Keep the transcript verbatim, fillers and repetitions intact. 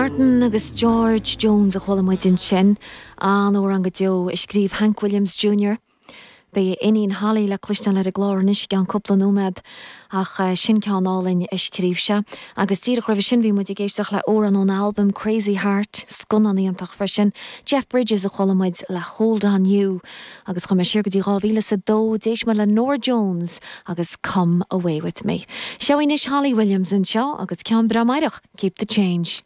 Martin agus George Jones a chuala muid ansin an amhrán go deo a scríobh Hank Williams Jr. Beidh iníon Holly le cloisteáil ar an gclár anois i gceann cúpla nóiméad ach eh, sin ceann álainn a scríobh sé. Agus díreach roimhe sin bhí muid ag éisteacht le amhrán ón album Crazy Heart scannán iontach freisin. Jeff Bridges a chuala muid le Hold on You agus chuaigh mé siar go dtí dhá mhíle is a dó d'éist muid le Norah Jones agus Come Away with Me. Seo anois Holly Williams anseo agus ceann breá meidhreach, Keep the Change.